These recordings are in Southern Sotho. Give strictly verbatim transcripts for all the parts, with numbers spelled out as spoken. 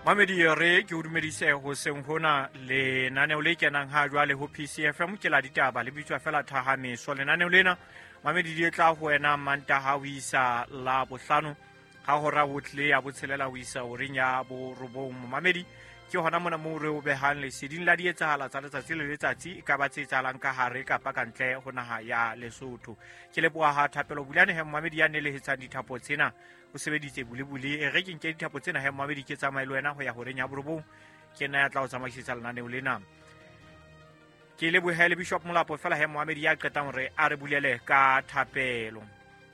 Mamedi re ke o dumedise hoseng hona lenaneo le kenang ha jwale ho P C F M ke la ditaba le bitswa fela Thahameso. Lenaneo lena Mamedi di tla ho wena Mantaha ho isa la bohlano ha hora ho tle ya botshelela ho isa horeng ya borobong. Mamedi ke hona mona moo re o behang leseding la dietsahala tsa letsatsi le letsatsi e ka ba tse etsahalang ka hare kapa ka ntle ho naha ya Lesotho. Ke leboha ha Thapelo Bulane he Mamedi ya nelehetsang dithapo tsena o sebeditse bulebule. E re ke nke dithapo tsena he Mamedi ke tsamaye le wena ho ya horeng ya borobong, ke nna ya tla o tsamaisetsa lenaneo lena. Ke lebohe le Bishop Molapo fela he Mamedi ya qetang hore a re bulele ka thapelo.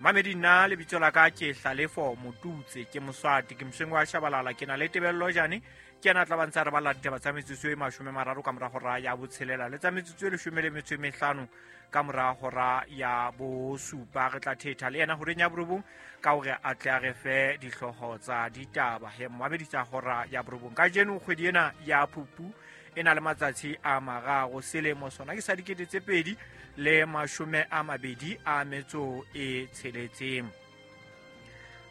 Mamedi nna lebitso la ka ke Hlalefo Motutse, ke Moswati, ke mosweng wa Shabalala, ke na le Tebello Jane, ke yena a tla ba ntse a re balla ditaba tsa metsotso e mashome mararo ka mora hora ya botshelela le tsa metsotso e leshome le metso e mehlano ka mora hora ya bosupa. Re tla thetha le yena horeng ya borobong ka hore a tle a re fe dihlooho tsa ditaba he Mamedi tsa hora ya borobong. Kajeno kgwedi ena ya Phupu e na le matsatsi a mararo, selemo sona ke sa dikete tse pedi le mashome a mabedi a metso e tsheletseng.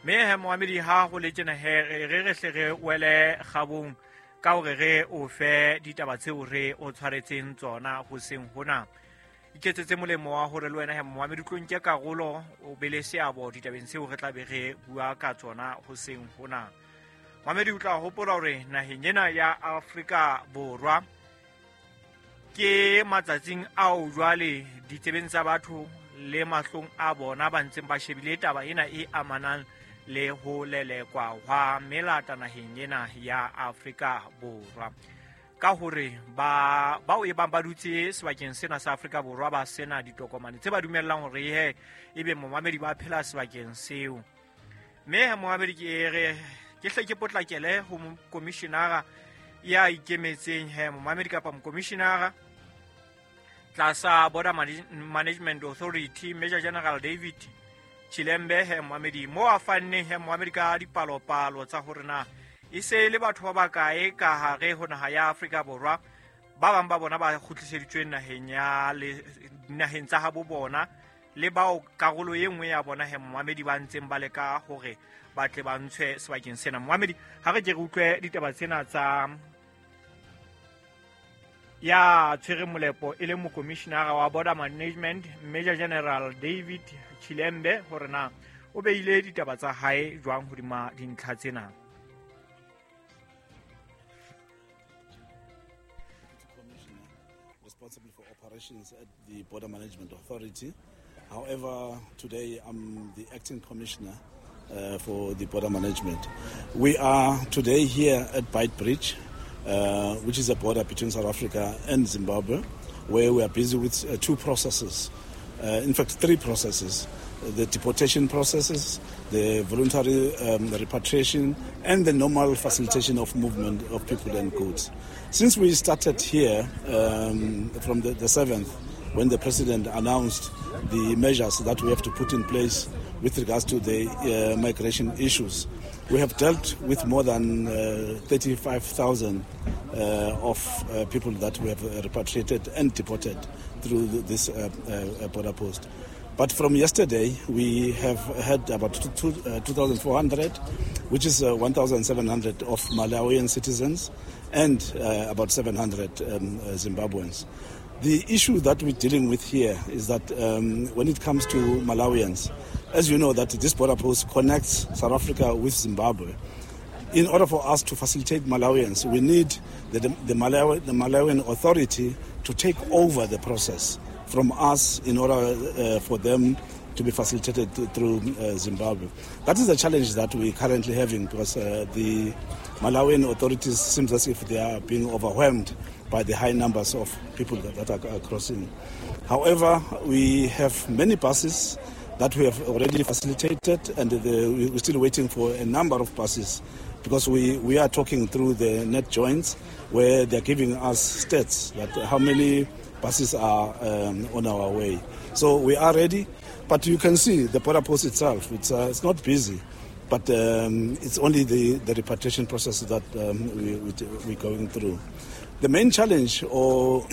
Mme he Mohamedi ha ho le tjena he re re hle re wele kgabong ka hore re o fe ditaba tseo re o tshwaretseng tsona hoseng hona. Iketsetse molemo wa hore le wena he Mohamedi o tlo nke karolo o be le seabo ditabeng tseo re tla be re bua ka tsona hoseng hona. Mohamedi o tla hopola hore naheng ena ya Afrika Borwa ke matsatsing ao jwale ditsebeng tsa batho le mahlong a bona ba ntseng ba shebile taba ena e amanang le ho lelekwa hwa melata naheng ena ya Afrika Borwa. Ka hore ba bao e bang ba dutse sebakeng sena sa Afrika Borwa ba sena ditokomane tse ba dumellang hore he ebe momamedi ba phela sebakeng seo. Mme he momamedi ke re ke hle ke potlakele ho mokomishinara ya ikemetseng he momamedi kapa mokomishinara tlasa Border Management Authority Major General David Chilembe he momamedi mo a fanneng he momamedi ka dipalopalo tsa hore na e se le batho ba bakae ka hare ho naha ya Afrika Borwa, ba bang ba bona ba kgutliseditsweng naheng ya le naheng tsa habo bona le bao karolo e nngwe ya bona he momamedi ba ntseng ba leka hore ba tle ba ntshwe sebakeng sena. Momamedi ha re ke re utlwe ditaba tsena tsa ya tshwere molepo e le mokomishinara wa Border Management Major General David Chilembe hore na o beile ditaba tsa hae jwang hodima dintlha tsena. Responsible for operations at the Border Management Authority. However, today I'm the acting commissioner uh, for the border management. We are today here at Beitbridge, uh, which is a border between South Africa and Zimbabwe, where we are busy with uh, two processes. Uh, in fact, three processes: the deportation processes, the voluntary um, repatriation, and the normal facilitation of movement of people and goods. Since we started here um, from the, the seventh, when the president announced the measures that we have to put in place with regards to the uh, migration issues, we have dealt with more than uh, thirty-five thousand uh, of uh, people that we have repatriated and deported through this uh, uh, border post. But from yesterday, we have had about two thousand four hundred, which is uh, one thousand seven hundred of Malawian citizens and uh, about seven hundred um, uh, Zimbabweans. The issue that we're dealing with here is that um, when it comes to Malawians, as you know, that this border post connects South Africa with Zimbabwe. In order for us to facilitate Malawians, we need the, the, Malawi, the Malawian authority to take over the process from us in order uh, for them to be facilitated through uh, Zimbabwe. That is the challenge that we're currently having, because uh, the Malawian authorities seems as if they are being overwhelmed by the high numbers of people that, that are crossing. However, we have many buses that we have already facilitated, and the, we're still waiting for a number of buses, because we, we are talking through the net joints where they're giving us stats that how many buses are um, on our way. So we are ready, but you can see the border post itself, it's, uh, it's not busy, but um, it's only the, the repatriation process that um, we, we, we're going through. The main challenge or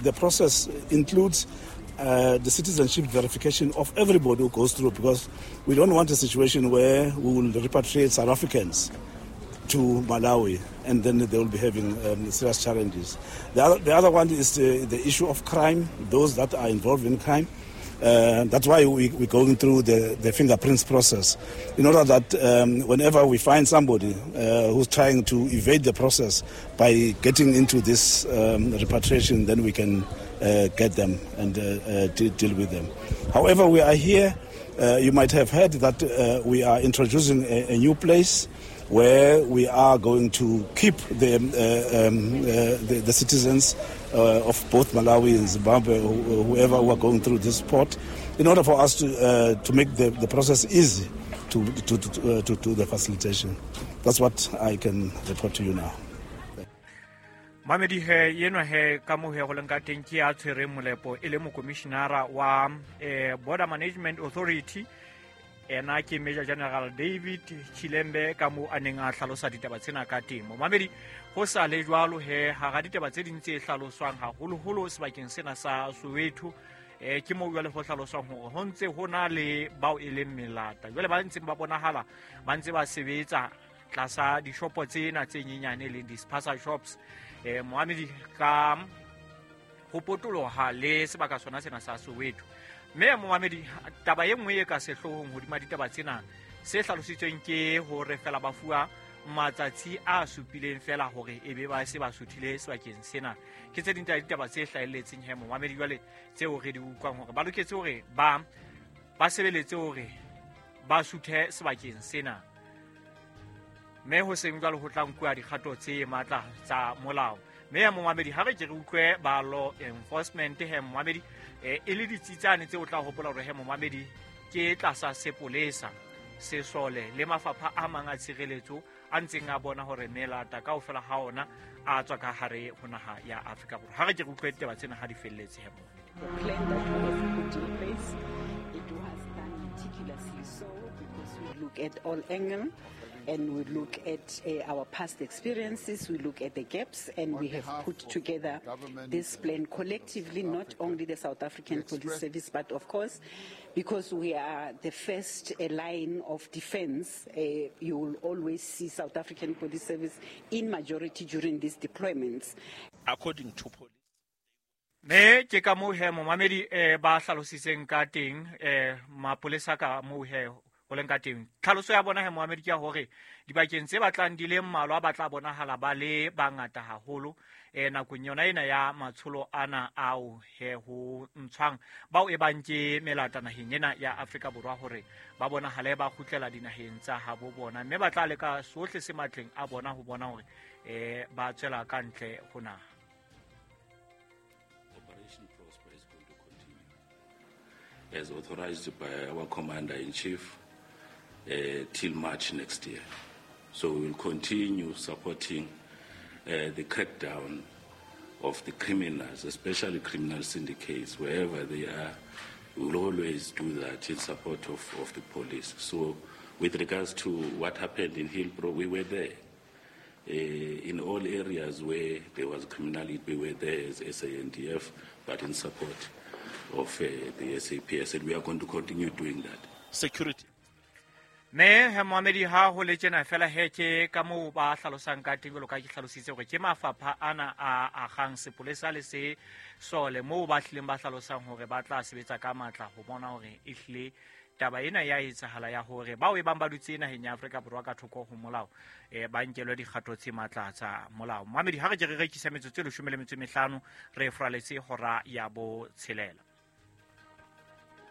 the process includes uh, the citizenship verification of everybody who goes through, because we don't want a situation where we will repatriate South Africans to Malawi, and then they will be having um, serious challenges. The other, the other one is the, the issue of crime, those that are involved in crime. Uh, that's why we, we're going through the, the fingerprints process, in order that um, whenever we find somebody uh, who's trying to evade the process by getting into this um, repatriation, then we can uh, get them and uh, uh, de- deal with them. However, we are here. Uh, you might have heard that uh, we are introducing a, a new place where we are going to keep the, uh, um, uh, the, the citizens uh, of both Malawi and Zimbabwe, whoever who are going through this port, in order for us to uh, to make the, the process easy to to, to, uh, to to the facilitation. That's what I can report to you now. Mamedi he yenwa he ka mo he go leng ka teng ke a tshwereng molepo e le mokomishinara wa eh, Border Management Authority, ena ke Major General David Chilembe, ka mo a neng a hlalosa ditaba tsena ka teng. Momamedi, ho sa le jwalo he hara ditaba tse ding tse hlaloswang haholoholo sebakeng sena sa Soweto, eh ke mo jwale ho hlaloswang hore ho ntse ho na le bao e leng melata jwale ba ntseng ba bonahala ba ntse ba sebetsa tlasa dishopo tsena tse nyenyane leng di-spaza shops, eh moamedi ka ho potoloha le sebaka sona sena sa Soweto. Mme moamedi, taba e nngwe e ka sehloohong hodima ditaba tsena se hlalositsweng ke hore fela ba fuwa matsatsi a supileng fela hore e be ba se ba suthile sebakeng sena. Ke tse ding tsa ditaba tse hlahelletseng he moamedi jwale tseo re di utlwang hore ba loketse hore ba ba sebeletse hore ba suthe sebakeng sena, mme ho seng jwalo ho tla nkuwa dikgato tse matla tsa molao. Mme ya momamedi, ha re ke re utlwe ba law enforcement he momamedi, e le ditsitsane tse o tla hopola hore he momamedi ke tlasa sepolesa, sesole le mafapha a mang a tshireletso a ntseng a bona hore melata kaofela ha ona a tswa ka hare ho naha ya Afrika Borwa. Ha re ke re utlwe ditaba tsena ha di felletse he momamedi. The plan that we have put in place, it was done meticulously so because we look at all angles and we look at uh, our past experiences, we look at the gaps, and we have put together this plan collectively, not only the South African Police Service, but of course, because we are the first uh, line of defense, uh, you will always see South African Police Service in majority during these deployments. According to police. Me ke ka moo he momamedi eh, ba hlalositseng ka teng eh, mapolesa ka moo he ho leng ka teng. Tlhaloso ya bona he moamedi ke ya hore dibakeng tse batlang di le mmalwa ba tla bonahala ba le bangata haholo eh nakong yona ena ya matsholo ana ao he ho ntshwang bao e bang ke melata naheng ena ya Afrika Borwa hore ba bonahale ba kgutlela dinaheng tsa habo bona, mme ba tla leka sohle se matleng a bona ho bona hore eh ba tswela ka ntle ho naha. Operation Prosper is going to continue as authorized by our Commander-in-Chief Uh, till March next year. So we will continue supporting uh, the crackdown of the criminals, especially criminal syndicates, wherever they are. We will always do that in support of, of the police. So with regards to what happened in Hillbrow, we were there. Uh, in all areas where there was criminality, we were there as S A N D F, but in support of uh, the S A P S, and we are going to continue doing that. Security. Me he moamedi ha ho le tjena fela he ke ka moo ba hlalosang ka teng jwalo ka ke hlalositse hore ke mafapha ana a agang sepolesa le se sole moo ba hlileng ba hlalosang hore ba tla sebetsa ka matla ho bona hore e hlile taba ena ya etsahala ya hore bao e bang ba dutse naheng ya Afrika Borwa ka thoko ho molao eh ba nkelwe dikgato tse matla tsa molao. Moamedi, ha re ke re rekisa metsotso e leshome le metso e mehlano re fraletse hora ya bo tshelela.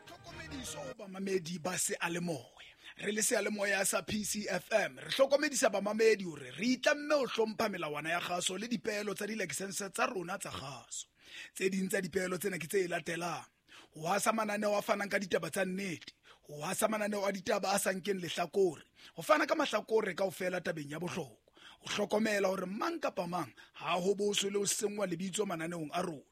Tlhokomediso ho bamamedi ba seyalemoya. Re le seyalemoya sa P C F M re hlokomedisa bamamedi hore re itlamme ho hlompha melawana ya kgaso le dipeelo tsa dilakesense tsa rona tsa kgaso. Tse ding tsa dipeelo tsena ke tse latelang: ho hasa mananeo a fanang ka ditaba tsa nnete, ho hasa mananeo a ditaba a sa nkeng lehlakore, ho fana ka mahlakore kaofela tabeng ya bohlokwa, ho hlokomela hore mang kapa mang ha ho boswe le ho senngwa lebitso mananeong a rona,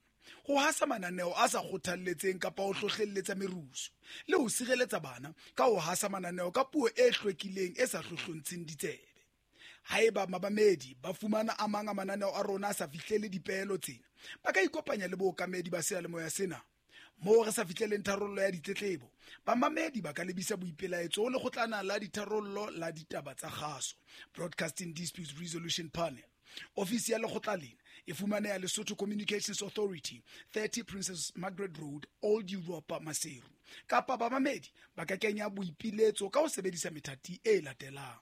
ho hasa mananeo a sa kgothalletseng kapa ho hlohlelletsa merusu, le ho sireletsa bana ka ho hasa mananeo ka puo e hlwekileng e sa hlohlontsheng ditsebe. Haeba mabamedi ba fumana a mang a mananeo a rona a sa fihlele dipeelo tsena, ba ka ikopanya le bookamedi ba seyalemoya sena. Moo re sa fihleleng tharollo ya ditletlebo, bamamedi ba ka lebisa boipelaetso ho lekgotlana la ditharollo la ditaba tsa kgaso, Broadcasting Disputes Resolution Panel. Ofisi ya lekgotla lena e fumaneha Lesotho Communications Authority, thirty Princess Margaret Road, Old Europa, Maseru. Kapa bamamedi ba ka kenya boipiletso ka ho sebedisa methati e latelang: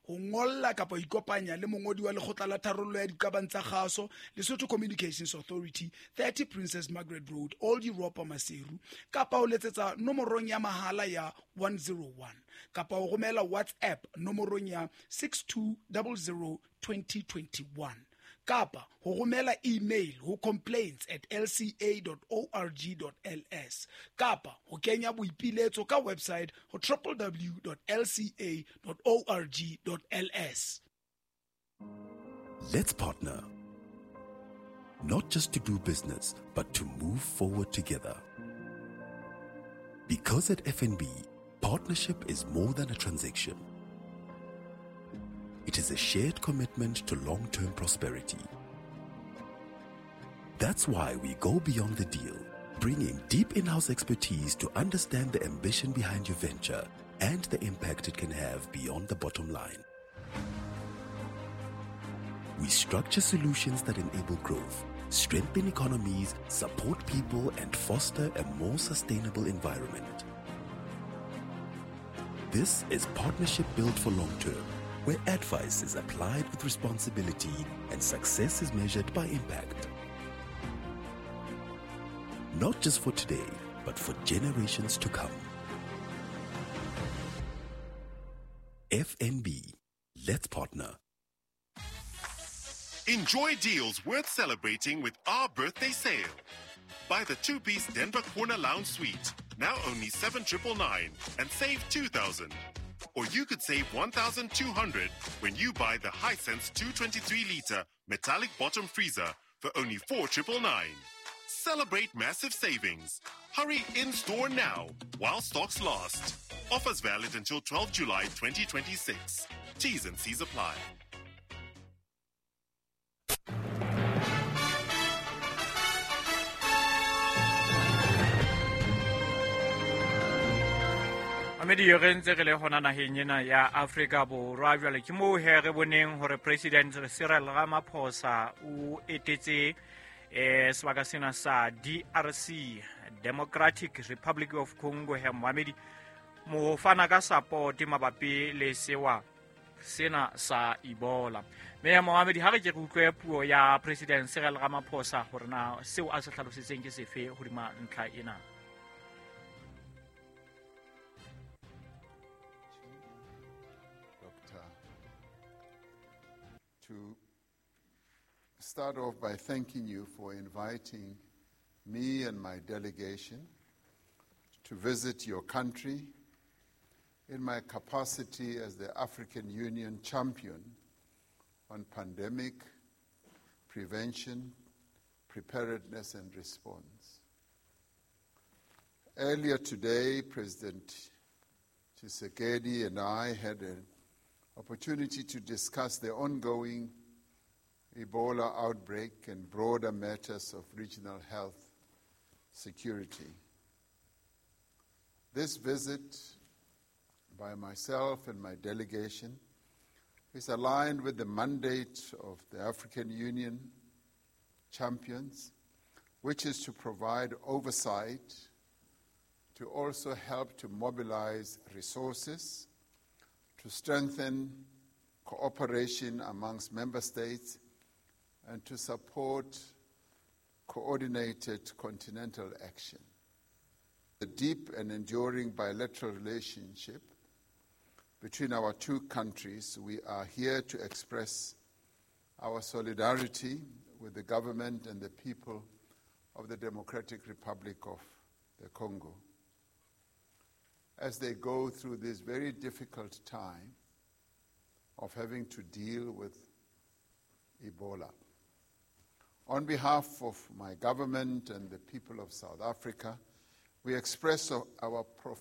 ho ngolla kapa ho ikopanya le mongodi wa lekgotla la tharollo ya diqabang tsa kgaso, Lesotho Communications Authority, thirty Princess Margaret Road, Old Europa, Maseru, kapa ho letsetsa nomorong ya mahala ya one zero one, kapa ho romela WhatsApp nomorong ya six two zero zero twenty twenty-one, kapa ho romela email ho complaints at l c a dot org dot l s, kapa ho kenya boipiletso ka website ho w w w dot l c a dot org dot l s. Let's partner. Not just to do business, but to move forward together. Because at F N B, partnership is more than a transaction. It is a shared commitment to long-term prosperity. That's why we go beyond the deal, bringing deep in-house expertise to understand the ambition behind your venture and the impact it can have beyond the bottom line. We structure solutions that enable growth, strengthen economies, support people, and foster a more sustainable environment. This is partnership built for long term, where advice is applied with responsibility and success is measured by impact. Not just for today, but for generations to come. F N B, let's partner. Enjoy deals worth celebrating with our birthday sale. Buy the two-piece Denver Corner Lounge Suite, now only seven triple nine, and save two thousand. Or you could save one thousand two hundred when you buy the Hisense two twenty-three liter metallic bottom freezer for only four triple nine. Celebrate massive savings. Hurry in-store now while stocks last. Offers valid until twelfth July twenty twenty-six. T's and C's apply. Mamedi re ntse re le hona naheng ena ya Afrika Borwa jwale ke moo he re boneng hore President Cyril Ramaphosa o etetse eh sebaka sena sa D R C, Democratic Republic of Congo, he Mohamedi mo fana ka support mabapi le sewa sena sa Ebola. Mme Mohamedi ha re ke re utlwe puo ya President Cyril Ramaphosa hore na seo a se hlalositseng ke sefe hodima ntlha ena. To start off by thanking you for inviting me and my delegation to visit your country in my capacity as the African Union champion on pandemic prevention, preparedness, and response. Earlier today, President Tshisekedi and I had an opportunity to discuss the ongoing Ebola outbreak and broader matters of regional health security. This visit by myself and my delegation is aligned with the mandate of the African Union champions, which is to provide oversight, to also help to mobilize resources, to strengthen cooperation amongst member states, and to support coordinated continental action. The deep and enduring bilateral relationship between our two countries, we are here to express our solidarity with the government and the people of the Democratic Republic of the Congo as they go through this very difficult time of having to deal with Ebola. On behalf of my government and the people of South Africa, we express our profound